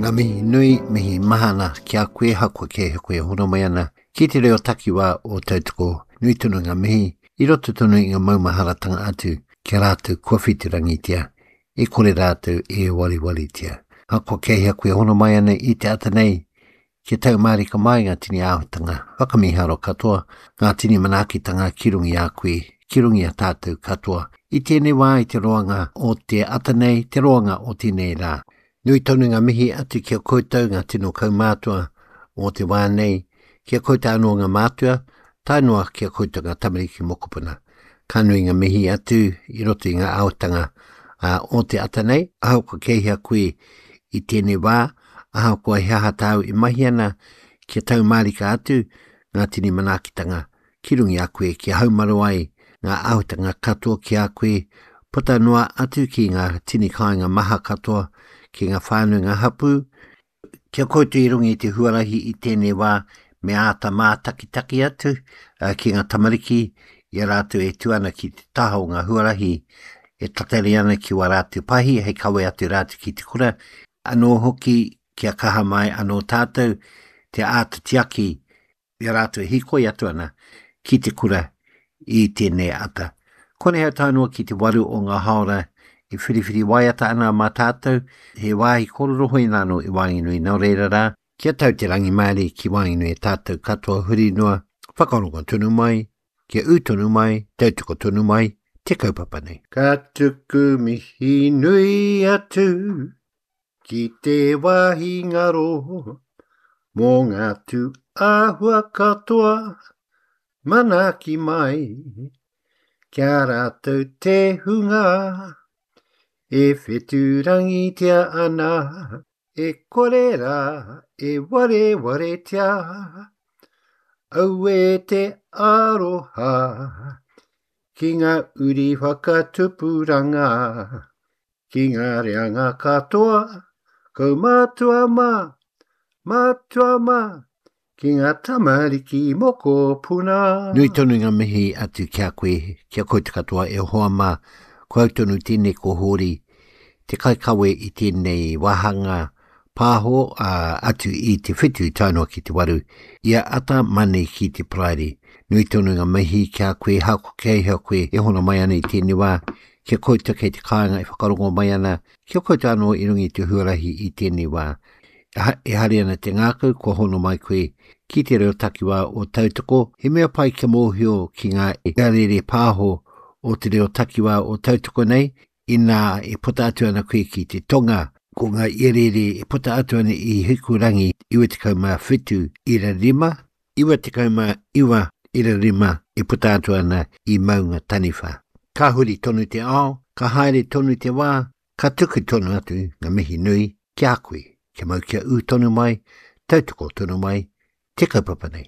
Ngā mihi nui, mihi mahana ki a koe hakoa kei he koe hono mai ana ki te reo takiwā o Tautoko. Nui tonu ngā mihi i roto tonu i ngā maumaharatanga atu ki a rātou kua whiturangitia, e kore rātou e wariwaritia. Hakoa kei hea koe hono mai ana i te ata nei, Kia tau mārika mai ngā tini āhuatanga whakamīharo katoa, ngā tini manaakitanga ki runga i a koe, ki runga i a tātou katoa, i tēnei wā i te roanga o te ata nei, te roanga o tēnei rā. Nui tonu ngā mihi atu ki a koutou ngā tino kaumātua o te wā nei, ki a koutou anō ngā mātua, tae noa ki a koutou ngā tamariki mokopuna. Ka nui ngā mihi atu i roto i ngā āhuatanga o te ata nei, ahakoa kei hea koe i tēnei wā, ahakoa he aha tāu e mahi ana, kia tau mārika atu ngā tini manaakitanga ki runga i a koe, kia haumaru ai ngā āhuatanga katoa ki a koe, puta noa atu ki ngā tini kāinga maha katoa, ki ngā whānau, ngā hapū, Kia koutou i runga i te huarahi i tēnei wā, me āta mātakitaki atu ki ngā tamariki i a rātou e tū ana ki te taha o ngā huarahi e tatari ana ki wā rātou pahi hei kawe atu rātou ki te kura, anō hoki kia kaha mai anō tātou te āta tiaki i a rātou e hīkoi atu ana ki te kura i tēnei ata. Konei au tae noa ki te waru o ngā hāora e whiriwhiri waiata ana mā tātou, he wāhi kōrero hoina anō i waenganui, nō reira rā, kia tau te rangimārie ki waenganui i tātou katoa huri noa, whakarongo tonu mai, kia ū tonu mai, tautoko tonu mai te kaupapa nei. Ka tuku mihi nui atu Ki te wāhi ngaro mō ngā tū āhua katoa, manaaki mai ki a rātou te hunga e whetūrangitia ana, e kore rā e warewaretia. Auē te aroha ki ngā uri whakatupuranga. Ki ngā reanga katoa, kaumātua mā, mātua mā, ki ngā tamariki mokopuna. Nui tonu ngā mihi atu ki a koe, ki a koutou katoa e hoa mā, ko au tonu tēnei ko Hōri, te kaikawe i tēnei wāhanga pāho, ā, atu i te whitu tae noa ki te waru, i a ata mani ki te Paraire. Nui tonu ngā mihi ki a koe, hako kei hea koe e hono mai ana i tēnei wā, Ki a koutou kei te kāinga e whakarongo mai ana, ki a koutou anō i runga i te huarahi i tēnei wā. E hari ana te ngākau kua hono mai koe ki te reo takiwā o Tautoko, he mea pai kia mōhio ki ngā iarere pāho o te reo takiwā o Tautoko nei, inā e puta atu ana koe ki te tonga, ko ngā iarere e puta atu ana i Hikurangi 97 ira 5, 99 ira 5 e puta atu ana i Maunga Taniwha. Ka huri tonu te ao, ka haere tonu te wā, ka tuku tonu atu ngā mihi nui ki a koe, kia mau kia ū tonu mai, tautoko tonu mai te kaupapa nei.